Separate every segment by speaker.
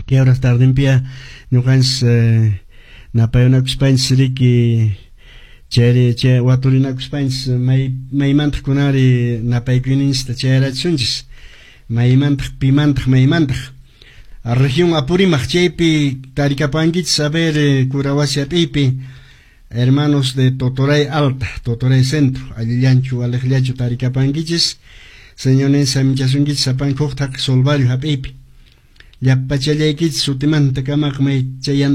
Speaker 1: Kay horas tardenpiya ñuqanchis napayunakuspanchis riki chayri chay waturinakuspanchis maymantaq kunanri napaykuyninchista chayarachisunchis, maymantaq pimantaq maymantaq. Región Apurímac chaypi tarikapankichis, a ver, Curahuasi hap'iypi, hermanos de Totoray Alta, Totoray Centro, allillanchu waliqllachu tarikapankichis, Señorninchis saminchasunkichis sapanka huk thaqi Solvario hap'iypi. Llapachallaykichis sutimanta kamaq may chayan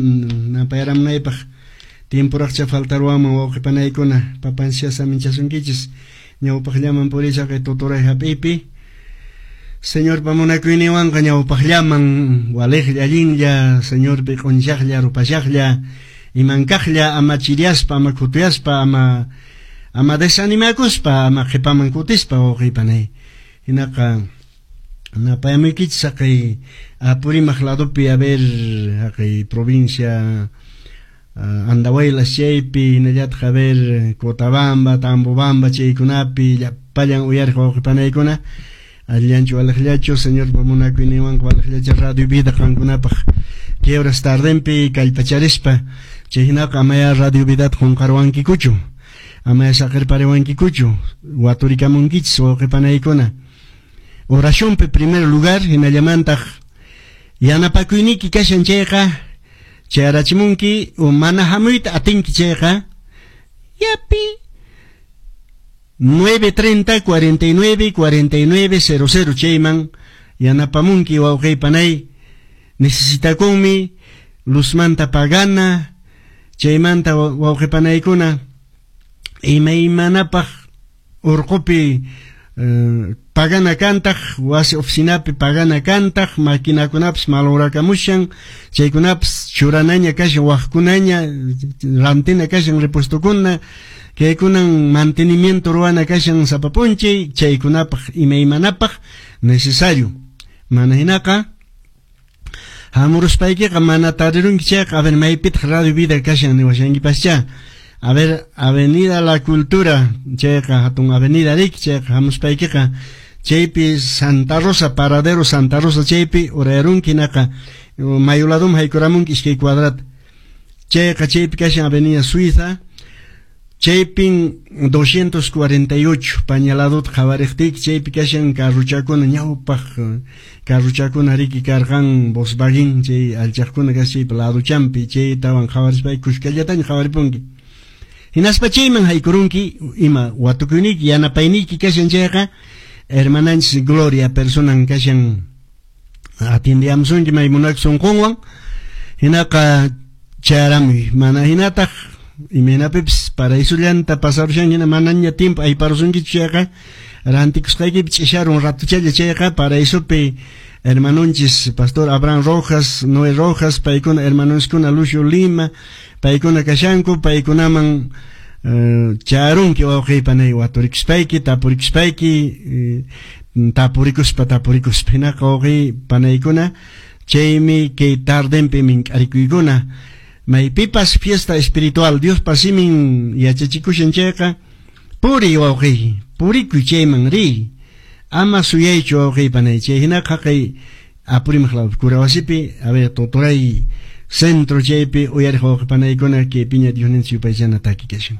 Speaker 1: napayaramunaypaq tiemporaqcha faltaruwanman wawqi panaykuna, papanchis saminchasunkichis ñawpaqllaman purishaqay Totoray hap'iypi. Señorpa munakuyninwanqa ñawpaqllaman waliqlla allinlla, Señorpi q'unchaqlla rupashaqlla, imankaqlla ama chiriaspa, ama khutuyaspa, ama desanimakuspa, ama qhipaman kutispa wawqi panay. Hinaqa napayamuykichis haqay Apurímac ladopi, a ver, haqay provincia Andahuaylas chaypi, hinallataq a ver Cotabamba, Tambobamba chaykunapi llapallan uyariq wawqi panaykuna, allillanchu waliqllachu, Señorpa munakuyninwanqa waliqllacha Radio Vida qankunapaq kay horas tardenpi kallpacharispa, chay hinaqa amaya Radio Vidata qunqarwankikuchu, amaya saqirpariwankikuchu, waturikamunkichis wawqi panaykuna. Oracionpi primer lugar, hinallamantaq yanapakuyniyki kashan chayqa chayarachimunki, o mana hamuyta atinki chayqa yapi 930 49 49 00 chayman yanapamunki wawqi panay. Necesitakunmi luzmanta pagana, chaymanta wawqi panaykuna imaymanapaq urqupi pagana kantaq, wasi oficinapi pagana kantaq, maquinakunapis malograkamushan, chaykunapis churanaña kashan, waqkunaña rantina kashan repuestokuna, kaykunan mantenimiento ruwana kashan sapa p'unchay, chaykunapaq imaymanapaq necesario. Mana hinaqa hamuruspaykiqa mana tarirunki chayqa, a ver, maypitaq Radio Vida kashan niwashankipascha. A ver, Avenida La Cultura, chayqa hatun avenida riki, chayqa hamuspaykiqa chaypi Santa Rosa, Paradero Santa Rosa chaypi urayarunki, hinaqa mayu ladoman haykuramunki iskay cuadrat. Chayqa chaypi kashan Avenida Suiza, chaypin 248 pañaladota qhawariqtiyki chaypi kashan carruchakuna, ñawpaq carruchakuna riki karqan Volkswagen chay alchaqkuna kashan chaypi laduchampi, chaytawan qhawarispayki kushkallataña qhawaripunki. Hinaspa chayman haykurunki ima watukuyniyki yanapayniyki kashan chayqa hermananchis Gloria personan kashan atiendiyamusunki may munakuq sunqunwan, hinaqa chayaramuy. Mana hinataq imaynapipis paraisullanta pasarushan hina manaña tiempo ayparusunkichu chayqa rantikusqaykipi ch'isharun ratuchalla chayqa paraisupi hermanonchis Pastor Abraham Rojas, Noé Rojas, paykuna hermanonchiskuna Lucio Lima, paykuna kashanku, paykunaman charunki wawqi panay waturikuspayki, tapurikuspayki, tapurikuspa tapurikuspa hinaqa wawqi panaykuna, chaymi kay tardenpi mink'arikuykuna. Maypipas fiesta espiritual Diospa simin yachachikushan chayqa puriy wawqi, purikuy chayman riy, ama suyaychu wawqi panay. Chay hinaqa haqay Apurímac lawpi Curahuasipi, a ver, Totoray centro chaypi uyariq wawqi panaykuna kay piña Diosninchis yupaychana taki kashan.